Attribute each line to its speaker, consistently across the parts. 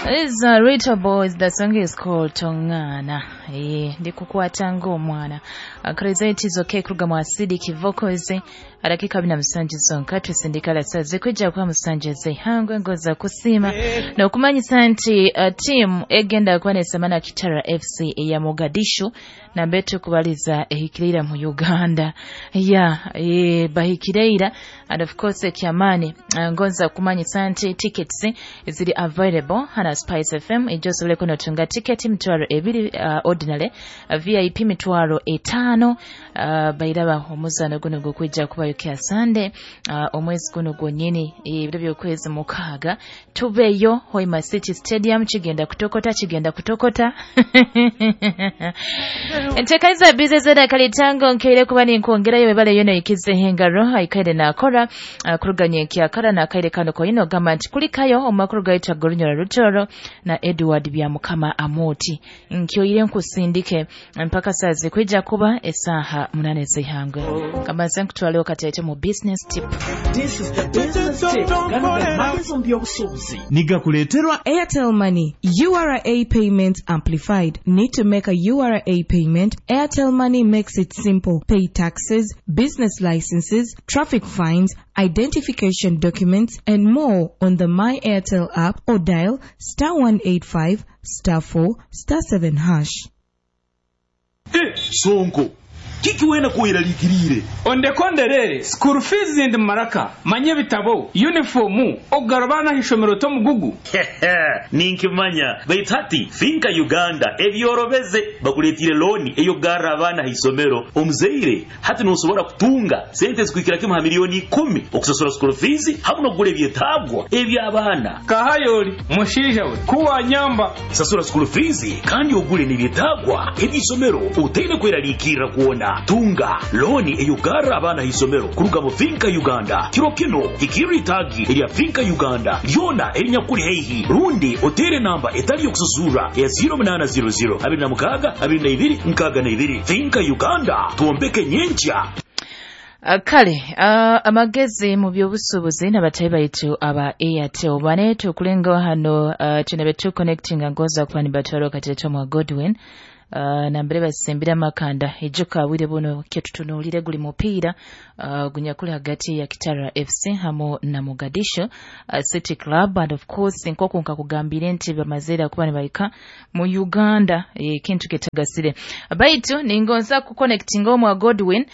Speaker 1: This is Rita Boys. The song is called Tongana. Ndikukwata ng'omwana. Akarizaiti zoke kuruga mu acidic vocals adakika 27 zonka tusindikala saze kwijja kwa musanje zihangwe ngoza kusiima n'okumanyisa nti tiimu egenda kuba nesemana Kitara FC eya Mogadishu nambe tukubaliza ehikirira mu Uganda ya bahikireira. And of course ekyamaani, ngonza kumanyisa nti tickets ziri available hana Spice FM ejosoboleko notunga ticket 20,000 ordinary, VIP 50,000. Bairaba omuzano guno gukwijja kubayo kya Sunday, omwezi guno gwonyini, ebiro by'okwezi 6, tubeyo Hoima City Stadium. Kigenda kutokota, kigenda kutokota. Entekaniza bize kalitango nkeire kuba ninkwongerayo webale yono ikizeho engaro aikaire nakora kuruganya ekyakara nakaire kano koyino gamba nti kulikayo omumakuru gaita Gorunyora Rutoro na Edward Byamukama Amoti nkyoire nkusindike mpaka sazi kwijja kuba esaha 8 z'ihangwe. Kambaze nkutwaleho kateete mu business tip.
Speaker 2: This is the business tip. Gano ge magezi mu by'obusuubuzi.
Speaker 3: Nigakuleeterwa
Speaker 4: Airtel Money URA Payment Amplified. Need to make a URA payment? Airtel Money makes it simple. Pay taxes, business licenses, traffic fines, identification documents, and more on the My Airtel app or dial *185*4*7#.
Speaker 5: Sonko kiki wena kuweralikirire?
Speaker 6: Ondekonderere school fees ndi maraka manye ebitabo, uniform, okugarabana ishomero tomugugu.
Speaker 5: Ninkimanya, baitu hati Finka Uganda ebyorobeze bakuletire looni eyokugarra abaana ha isomero. Omuzaire hati nosobora kutunga sente zikuhikira kimu ha miliyoni 10 okusasura school fees hamu n'okugura ebyetaagwa eby'abaana.
Speaker 6: Kahayoli mushiija we kuwanyamba.
Speaker 5: Sasura school fees kandi ogule n'ebyetaagwa eby'isomero otaine kweraliikirra kwona. Tunga looni eyokugarra abaana ha isomero kuruga mu Finka Uganda. Kiro kino hikirra itaagi erya Finka Uganda lyona erinyakuli haihi rundi otere namba etali yokusasura ya 0800 26 22 62. Finka Uganda, twombeke nyenkya.
Speaker 1: Kale amagezi mu by'obusuubuzi n'abatayi baitu aba Airtel bane tukulenga hano, tunabe tu connecting ngoza kuba nibatwara kateto mwa Godwin, nambere basembera amakanda ejuka bwire buno kyetutunuulire guli mupiira gunyakuli hagati ya Kitara FC hamu na Mogadishu City Club. And of course nkoku nkakugambire nti bamazeera kuba nibaika mu Uganda, ekintu ketagasire baitu ningonza kuconnectinga omwa Godwin,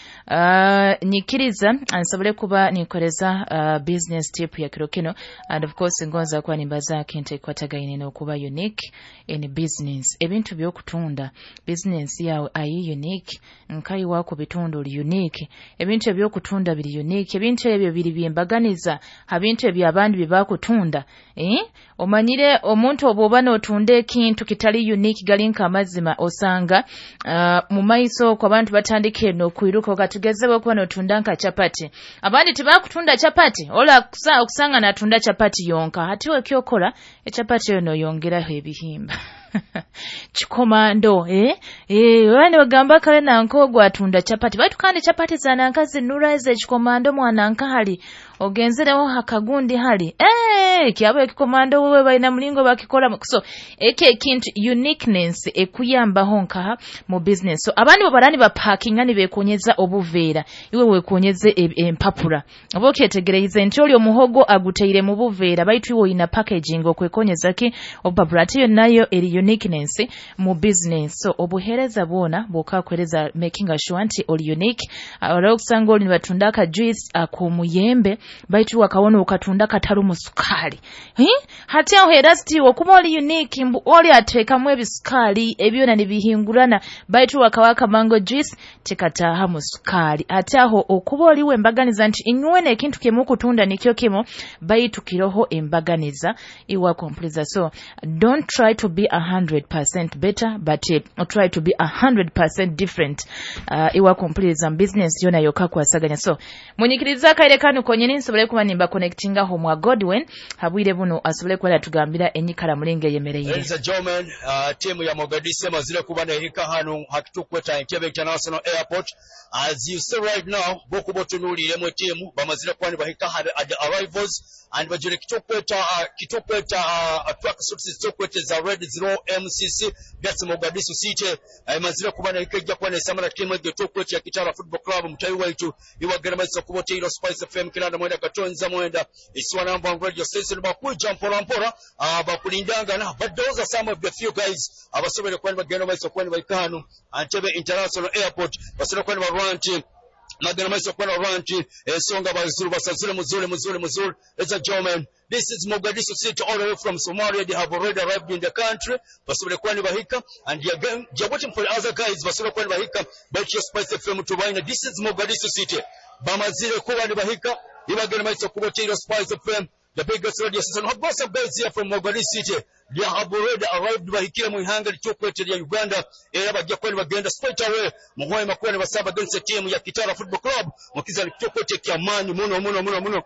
Speaker 1: nyikiriza nsobole kuba ninkoreza business tip ya kiro kino. And of course ngonza kuba nimbaza kintu ekikwatagaine n'okuba unique in business, ebintu by'okutunda, business yawe ayi unique nkayi wako bitundu oli unique, ebintu ebyokutunda biri unique, ebintu ebyo biri byembaganiza ha bintu ebyabandi byebakutunda. Omanyire omuntu obwoba n'otunda ekintu kitali unique gali nk'amazima osanga mu maiso okwo abantu batandika eno okwiruka. Okatugeze bwokuba n'otunda nka chapati, abandi tebakutunda chapati, ola okusanga natunda chapati yonka. Hati wekyokora echapati eyo noyongeraho ebihimba kikomando, bane bagamba kale nanka ogwo atunda chapati, baitu kandi chapati za nanka zinura ekikomando mwana hali ogenzereho hakagundi hali kyabo ekikomando wewe balina mulingo bakikora. So eke ekintu uniqueness ekuyambaho nkaha mu business. So abandi bobarani bapakinga nibekonyeza obuveera, iwe wekonyeze empapura. Oba okyetegereize nti oli omuhogo aguteire mu buveera, baitu iwe oyina packaging okwekonyeza ki obupapura, ate yo nayo eri uniqueness mu business. So obuhereza bwona bwokakwereza making sure nti oli unique. Olwo okusanga oli nibatunda aka juice ak'omuyembe, baitu wakawona okatunda katarumu sukaali. Hati aho era siti okuba oli unique mbu oli ateekamu ebisukaali ebyona nibihingurana, baitu wakawaka mango juice tekataahamu sukaali. Ate aho okuba oliwo embaganiza nti inywene ekintu kimu okutunda nikyo kimu, baitu kiroho embaganiza iwa kompuliza. So don't try to be 100% better, but try to be 100% different, iwa kompuliza mu business yona yoka kwasaganya. So munyikiriza akaire kanu konyini. Then nsobole kuba nimba connectingaho mwa Godwin habwire buno asobole kuba atugambira enyikara mulinge yemereye.
Speaker 3: Ladies and gentlemen, timu ya Mogadishu emazire kuba nehika hano hakitukweta Entebbe International Airport. As you see right now, bokuba otunuuliremu timu bamazire kuba nibahika hano at the arrivals and bajire kitukweta track suits zitukweta za red zero MCC, that's Mogadishu City. Emazire kuba nehika ejja kuba nesamala timu egyo tukweta ya Kitara Football Club. Mutayi waitu iwagera maiso kuba oteiro Spice FM 99.9 isiwa namba radio station bakuja mpora mpora, bakulindangana, but those are some of the few guys abasobole kuba nibagenda maiso kuba nibahika hano Entebbe International Airport. Basobole kuba nibarwa nti magana maiso kuba nibarwa nti ensonga bazuru basazule muzuri muzuri muzuri. Ladies and gentlemen, this is Mogadishu City all the way from Somalia. They have already arrived in the country. Basobole kuba nibahika and they are going, they are waiting for the other guys. Basobole kuba nibahika but your Spice FM tubaina. This is Mogadishu City. Bamazire kuba nibahika ibagenda maiso kuba oteiro Spice FM, the biggest radio station. I've got some guys here from Mogadishu City. They have already arrived bahikire mu ihanga ly'okwete lya Uganda era bajja kuba nibagenda straight away mu Hoima kuba nibasaba against team ya Kitara Football Club mu kizani ky'okwete kyamaanyi muno muno muno muno.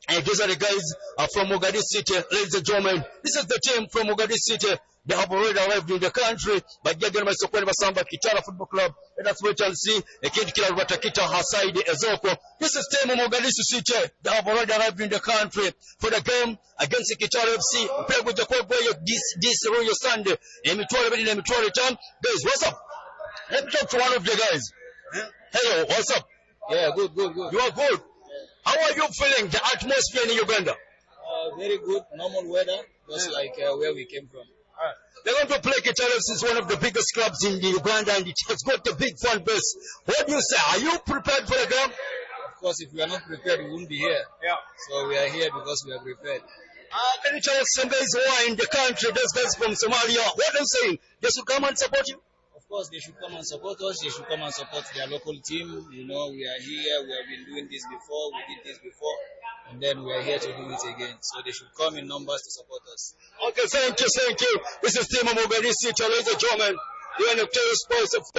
Speaker 3: And these are the guys from Mogadishu City, ladies and gentlemen. This is the team from Mogadishu City. They have already arrived in the country. Bajja genda maiso kuba nibasamba Kitara Football Club. Let us wait and see. Ekintu kila batakita Hasaidi Ezoko. This is team Mogadishu City. They have already arrived in the country for the game against Kitara FC. Mpira gujja kuba this Royal Sunday. 2,250. Guys, what's up? Let me talk to one of the guys. Hello, what's up?
Speaker 7: Yeah, good, good, good.
Speaker 3: You are good. How are you feeling the atmosphere in Uganda?
Speaker 7: Very good, normal weather, just like where we came from.
Speaker 3: They're going to play Kitara FC, is one of the biggest clubs in Uganda, and it has got a big fan base. What do you say? Are you prepared for the game?
Speaker 7: Of course, if we are not prepared, we wouldn't be here.
Speaker 3: Yeah.
Speaker 7: So we are here because we are prepared.
Speaker 3: Can you tell us some guys who are in the country, those guys from Somalia, what are you saying? They should come and support you?
Speaker 7: Of course, they should come and support us. They should come and support their local team. You know, we are here. We have been doing this before. We did this before. And then we are here to do it again. So they should come in numbers to support us.
Speaker 3: Okay, thank you, thank you. This is Timo Mogadishu, ladies and gentlemen. You are the Sports.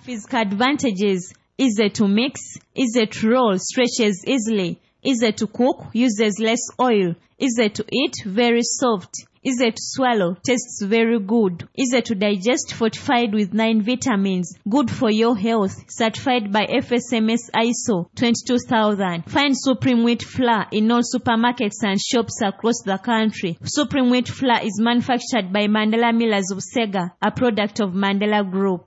Speaker 8: Physical advantages: easy to mix, easy to roll, stretches easily, easy to cook, uses less oil, easy to eat, very soft, easy to swallow, tastes very good, easy to digest, fortified with 9 vitamins, good for your health, certified by FSMS ISO 22000. Find Supreme Wheat Flour in all supermarkets and shops across the country. Supreme Wheat Flour is manufactured by Mandela Millers of Sega, a product of Mandela Group.